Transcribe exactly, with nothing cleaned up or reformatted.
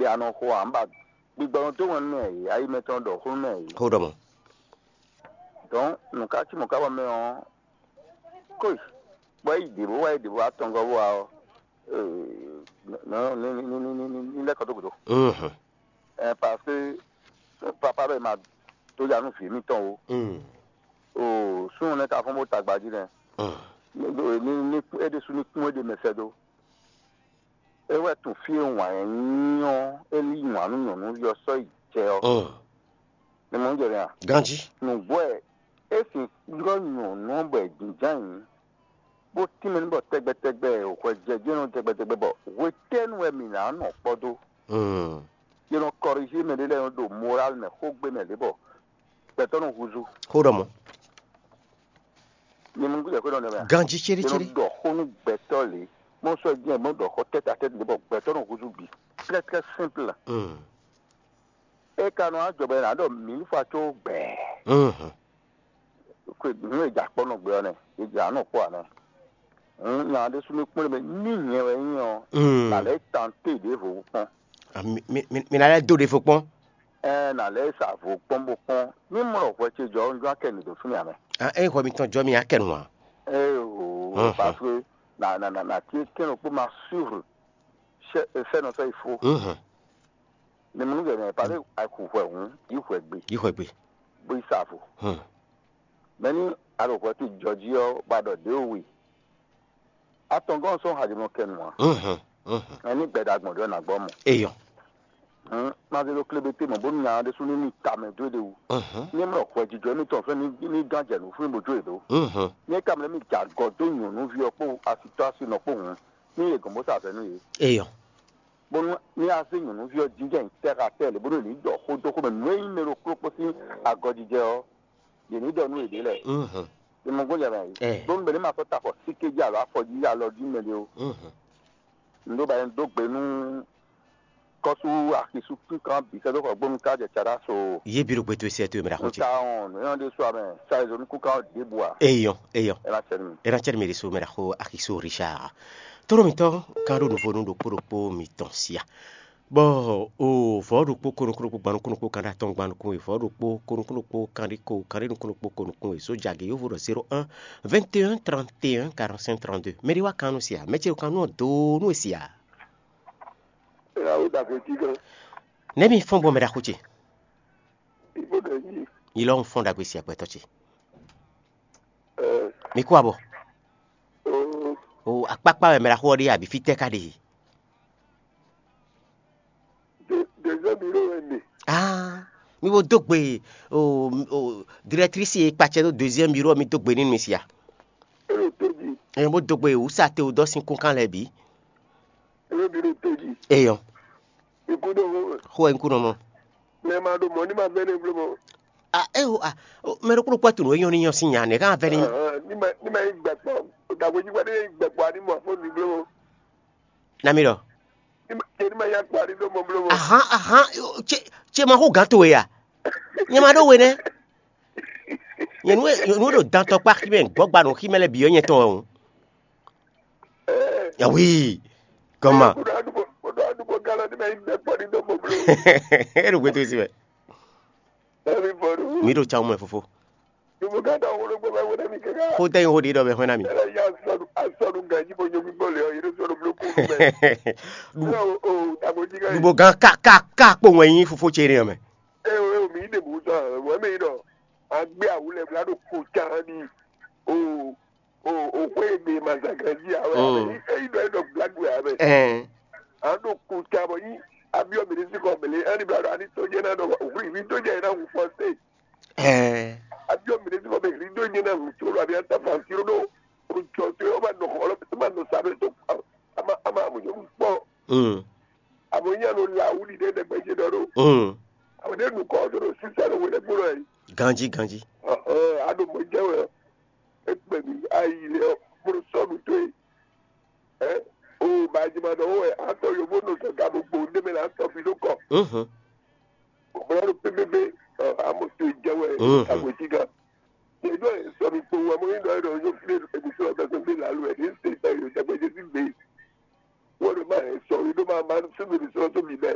ta nɔ xo ǎ, un ba gbigbɔ nɔ dó wɛn nú mɛ yě, ayi mɛtɔn nɔ ɖɔ xó nú mɛ yě. Xó ɖɔ mɔ̌. Donc nǔ ka cí mɔ̌ ká bɔ mɛ ɔ́, kóyi, bɔ é yi ɖěvo wá, yi ɖěvo wá tɔngɔ́ bó wá ɔ́, ní lɛ́ kɔ dó gǔdo. Ɛ parce que papa ɖɔ è ma dó ya nú vǐ émítɔn ó. Oo, súnnu nɛ́ ka fɔ́n bó tagba jí nɛ́. Ní é ɖésú ní kún é ɖe mɛ sɛ́ dó. É wɛ tunwun fí e wǎn ɛ nyí ɔ́, é lí wǎn nú nyɔ̌nu ɔ́ sɔ́ yi jɛ ɔ́. Ní mɔ jɛ nɛ́ a? Ganjí. Nǔgbó wɛ é sin ylɔ́ nyɔ̌nu ɔ́ bɔ è jínjɔ́n ayǐ, bó tínmɛ nú bɔ tɛgbɛtɛgbɛ hwɛjɛjí nɔ tɛgbɛtɛgbɛ bɔ hwetɛ́nu wɛ mǐ ná nɔ kpɔ́ dó? Yě nɔ kɔrìjí mɛ ɖé lɛ́ɛ nɔ ɖo morál mɛ xógbé mɛ lě bɔ gbɛtɔ́ nɔ húzú. Xó ɖɔ mɔ̌. Nyɛ mɔ nukúnjɛ xwé nɔ nɛ mɛ. Ganjí céɖécéɖé. Yě nɔ ɖɔ xó nú gbɛtɔ́ lě. Mɔ sɔ́ jẹ́ mɔ ɖɔ xó tɛ́tatɛ́ lě bɔ gbɛtɔ́ nɔ húzú bǐ. Très très simple. É ka nɔ ajɔ bɔ è nǎ ɖɔ mǐ fa có gbɛ̌. Nǔ e jǎ kpɔ́ nɔ gbé ɔ́ nɛ́, è jǎ nɔ kpɔ́ ǎ nɛ́. Nya ɖésú ní kplé mɛ ní nyɛ wɛ nyí ɔ́, nǎ lɛ́ tante ɖěvo kpɔ́n. Mi ná lɛ́ dó ɖěvo kpɔ́n. Ɛ nǎ lɛ́ sa vo kpɔ́n bó kpɔ́n. Ní mɔ hwɛ ce jɔ ɔ́, un jɔ akɛ nǔ dó fínɛ́ ǎ mɛ. Ényí hwɛ mitɔn jɔ mi akɛ nǔ ǎ. Ée o, parce que nǎ nǎ nǎ nǎ tí kɛ́n ɖokpó ma suivre sɛ́ sɛ́ nɔ sɔ́ yi fó. Mɛ mɛ nú gɛ̌ nɛ́, pardon, a ku hwɛ hǔn, yí hwɛ gbe, Yí hwɛ gbe. Bó yi sa vo. Hmm. Mɛ ní a ɖo hwɛ towe jɔ jí ɔ́, bɔ a ɖɔ ɖě we. Atɔngɔ́ ɔ́ sɔ́ hajlɔ́ kɛ nu ǎ. Mhm. Mhm. Mɛ ní gbɛɖagbɔn ɖɔ nǎ gbɔ mɔ. Eyɔ. Hmm, ma zé ɖo klébeté mɔ, bónú nya ɖésú ní ní tamɛ dó ɖe wú. Mhm. Ní mlɔ hwɛ jijɔ émítɔn fɛ́ ní ní gán jɛ nǔ fún bó jó yě dó. Mhm. Ní é ka mlɛ́ mì jɛ agɔ dó nyɔ̌nuví ɔ́ kpó asitɔ́ asinɔ kpó hǔn, ní yě gɔn bó sa azɔ̌ nú yě. Eyɔ. Bónú ní a zé nyɔ̌nuví ɔ́ jínjɔ́n nyi tɛ́ xá tɛ́ lě bónú è nǐ ɖɔ xó dó xó mɛ nǔ e nyí mɛ ɖokpó kpó sín agɔ jijɛ ɔ́, yě ní ɖɔ nú yěɖée lɛ́ɛ. Mhm. È mɔ gbɔn jɛ mɛ. Ɛ. Bónú mɛ ní ma sɔ́ ta afɔ sí kéjí alo afɔ jí alɔ jí mɛ ɖé ó. Mhm. Un ɖó ba un dó gbe nú kɔ́sú axisú kínkán bǐ sɛ́ dó xɔ gbónú ká jɛ Caɖáso. Yé bí ɖo gbɛtɔ́ sɛ tó mɛ ɖaxó ce. Nta ɔn nǔ nyɔ́ ɖé sú amɛ sa ezo nú kúkán ɖěbǔ a. Eyɔ, eyɔ. Ɛ ná cɛ nú mi. Ɛ ná cɛ nú mi ɖésú mɛ ɖaxó axisú Richard. Toro mitɔn kan ɖo nǔvo nú ɖokpó ɖokpó mitɔn sia. Bɔ o vɔ̌ ɖokpó ko nukún ɖokpó gban nukún ɖokpó kan ɖo atɔn gban nukún we, vɔ̌ ɖokpó ko nukún ɖokpó kan ɖé ko kan ɖé nukún ɖokpó ko nukún we, sójà gě yovo ɖɔ zéro un vingt et un trente et un quarante-cinq trente-deux. Mɛ ɖé wá kan nú sia, mɛ ce ɖo kan nú ɔ́ do nú e sia. Ela wo da ko ti gan. Nɛ̌ mi fɔ́n gbɔn mɛ ɖaxó ce? Ibo ɖe yi. Yi lɔ un fɔ́n ɖagbe sia gbɛtɔ́ ce. Ɛ. Mi kú abɔ. O. O akpákpá wɛ mɛ ɖaxó ɔ́ ɖe abǐ fítɛ́ ká ɖe? Deuxième bureau wɛ mi. Ah, mi bo dó gbe o o directrice e kpacɛ ɖo deuxième bureau mi dó gbe nínú mi sia. Elo tó jí. Ɛ bó dó gbe wúsa te o dɔ sín kúnkan lɛ bǐ. Elo bureau tó jí. Eyɔ. Ikú dó hó. Xó ɛ ń kú nɔ mɔ. Mɛ ma ɖo mɔ̌ ní ma vɛ́ nɛ bló mɔ. Ah, ɛ o ah, mɛ ɖokpó ɖokpó atu nǔ e nyɔ ní nyɔ sín nya nɛ ká vɛ́ ní. Ní ma ní ma yí gbɛkpɔ, dàgbéjikpɔ ní yí gbɛkpɔ ní mɔ fó ní bló mɔ. Nami ɖɔ. Ní ma yá kpa ní dó mɔ bló mɔ. Ahan ahan, ce ce ma xó gǎn towe ya? Nyɛ ma ɖó we nɛ́. Nyɛ nú nú ɖo dantɔ kpá xí mɛ gbɔ́gba nǔ xí mɛ lɛ́ɛ bǐ ɔ́ nyɛ tɔn wɛ o. Yawi, gɔma. Kódó adúgbò kódó adúgbò gálọ́ ní ma yí gbɛkpɔ ní dó mɔ bló. E ɖo gbɛtɔ́ si mɛ. Ɛmi bɔdu. Mi ɖo tsa mɛ fofo. Numu gã da wolo gbɔ bɛ wele mi kɛkɛ. Xó tɛ yin xó ɖi ɖɔ bɛ xwɛ na mi. Ɛlɛ ya sɔnu asɔnu gã ji bo nyɔ mi gbɔ le ɔ yɛrɛ sɔnu blo kunu bɛ. Ɛlɛ o o dabo ji ka yi. Nubo gan ka ka ka kpo ŋwɛ yin fofo tse ne mɛ. Ɛ o ɛ o mi de bu sɔ wɛ mi dɔ agbe awulɛ bla do ko ca ni o o o xwe gbe ma za gã ji awɛ. Mm. Eyi dɔ edɔ gbla gbe awɛ. Ɛɛ. An do ko ca bɔ yi abiɔ mi de si kɔ mele ɛni bla do ani to jɛ na dɔ o xwe mi to jɛ na wu fɔ se. Ɛɛ. Abiɔ mi ɖe sinɔ bɛ hli do nye na nu tso lo abi ata fan tiro ɖo o jɔ to yɔ ma nɔ xɔ lɔ ma nɔ sa ɖo to ama ama mo jɔ kpɔ. Mm. Abo nya no la wuli ɖe ɖe gbɛdze ɖɔ ɖo. Mm. Abo ɖe nu kɔ ɖo ɖo sisa ɖo wele kpo lɔ yi. Ganji ganji. Ɔ ɔ aɖo mo jɛ wɛ ekpe mi ayi le ɔ mo sɔ nu to yi. Ɛ o baaji ma ɖɔ wɛ atɔ yovo nɔ sɔ gabo gbo ɖe mɛ la tɔ fi ɖo kɔ. Mhm. Bla ɖo pépépé, ɔ, amo to jɛ wɛ, mhm, agbo ti gan. Ye dɔ sɔ mi kpo wa mo yin dɔ dɔ yo fle ebi sɔ bɛ sɔ bi la lu ɛ ni se bɛ yo jagbe je si gbe. Wo ɖo ma sɔ yi ɖo ma ma su mi sɔ so mi bɛ.